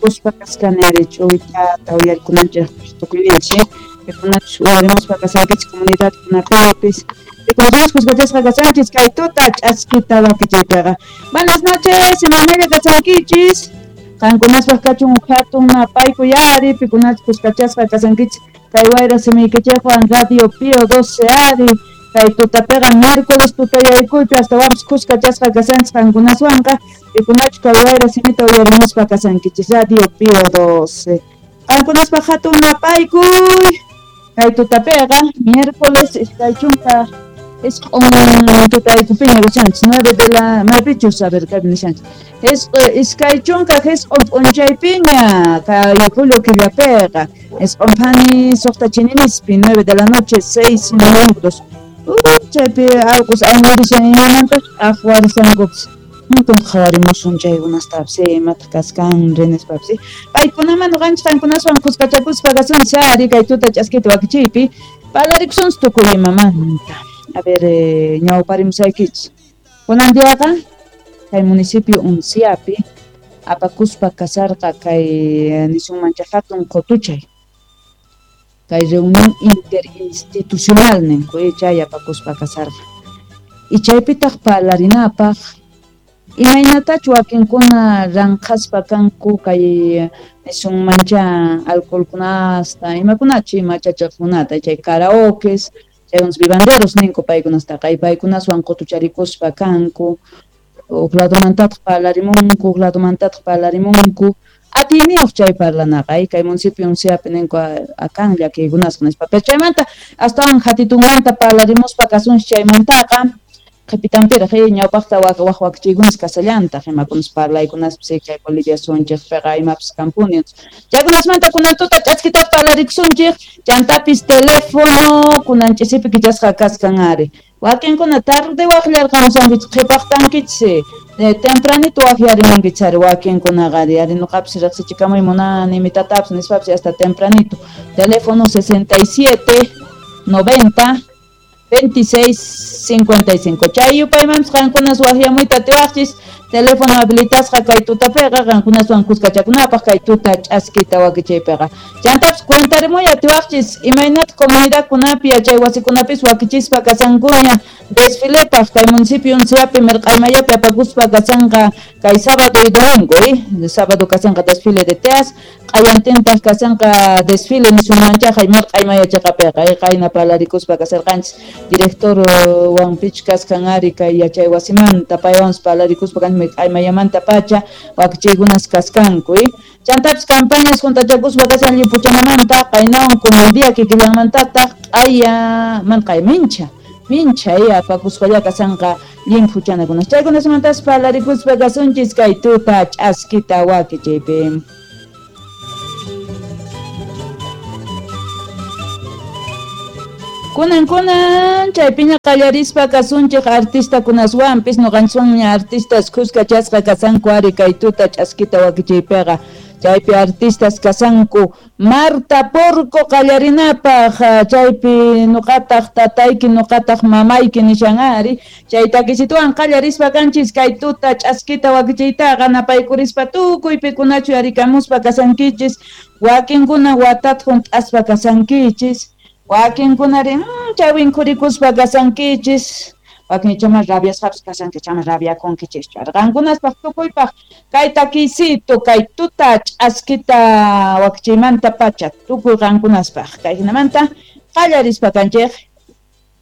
Kuspa kaskani ch'uwitata uyarikunanchik tukuyninchik pikunachus uyarimuspa kasankichik comunidadkunapipis pikunachus kuskachasqa kasanchis kay tuta ch'askita wakichiypiqa. Buenas noches, imaynalla kasankichis? Qankunaspaq kachun hatun napaykuy ari pikunachus kuskachasqa kasankichis kay wayra simiykichikwan Radio Pío 12 ari kay tutapiqa miércoles tutayaykuypi astawanpis kuskachasqa kasanchis qankunaswanqa pikunachus kay wayra simita uyarimuspa kasankichis Radio Pío 12. Qankunaspaq hatun napaykuy kay tutapiqa miércoles 29 tutaykupiña kashanchis 9 de la maypichus a ver kaypi nishanchis 29 p'unchaypiña kay julio killapiqa 9 phani 6 chininispi 9 de la noche 6 minutos. Chaypi allqus aymurishan imamanta aqwarisankupis Muntun qhawarimusun chaykunastapis imataq kaskan rinispapas paykunaman ñuqanchik qankunaswan kuskachakuspa kasunchis ari kay tuta ch'askita wakichiypi parlarikusunchis tukuy imamanta. A ver, ñawparimusaykichis kunan diaqa kay municipio Unciapi apakuspa kasarqa kay nisunmancha hatun qutuchay kay reunión interinstitucional ninku chay apakuspa kasarqa y chaypitaq parlarinapaq imaynatachu wakinkuna ranqhaspa kanku kay nisunmancha alcoholkunasta imakunachu machachiqkunata chay karaokes chaykunas vivanderos ninku paykunastaqa y paykunaswan qutucharikuspa kanku huk ladomantataq parlarimunku huk ladomantataq parlarimunku atiyniyuq chay parlanaqa kay municipio Unciapi ninku akan llakiykunasqa nispa pero chaymanta astawan hatitunmanta parlarimuspa kasunchis chaymantaqa qhipitanpiraq ñawpaqta wak wakichiykunas kasallantaq imakunas parlaykunaspis kay Bolivia sunchikpiqa imapis kampuni chaykunasmanta kunan tuta ch'askitaqa parlarikusunchik chantapis teléfono kunan ch'isipi kichasqa kaskan ari wakinkuna tarde waqllarqamusankichik qhipaqtankichis tempranito waqllarimunkichis ari wakinkunaqa ari ari ñuqapis riqsichikamuy munani imitatapis nispapis hasta tempranito teléfono 67 90 26 55 chay yupaymanpis qankunas waqllamuyta atiwaqchis teléfono habilitasqa kay tutapiqa qankunaswan kuskachakunapaq kay tuta ch'askita wakichaypiqa chantapis cuentarimuy atiwaqchis imaynata comunidadkunapi yachay wasikunapis wakichispa kasankuña desfilepaq kay municipio Unciapi Mirq'aymayapi apakuspa kasanqa kay sábado y domingo sábado kasanqa desfile de teas q'ayantintaq kasanqa desfile nisunmanchaqa Mirq'aymaya chiqapiqa qayna parlarikuspa kasarqanchis director wanpich kaskan ari kay yachay wasimanta paywanpas parlarikuspa kanchis Mirq'aymayamanta pacha wakichiykunas kaskanku chantapis campañas juntachakuspa kasan llipuchanamanta qaynawan kunan día kikillanmantataq q'aya man q'aya mincha mincha apakuspalla kasanqa llimphuchanakunas chaykunasmantas parlarikuspa kasunchis kay tuta ch'askita wakichiypi. Kunan kunan chaypiña qallarispa kasunchik artistakunaswanpis ñuqanchikwanña artistas kuskachasqa kasanku ari kay tuta ch'askita wakichiypiqa chaypi artistas kasanku Marta Porco qallarinapaq chaypi ñuqataq tatayki ñuqataq mamayki nishan ari chay takisituwan qallarispa kanchis kay tuta ch'askita wakichiytaqa napaykurispa tukuy pikunachu yarikamuspa kasankichis wakinkuna watata hunt'aspa kasankichis wakinkunari chay winkhurikuspa kasankichis wakin chama rabiasqapis kasanki chama rabiakunkichischu qankunaspaq tukuypaq kay takisito kay tuta ch'askita wakichiymanta pacha tukuy qankunaspaq kay hinamanta qallarispa kanchik.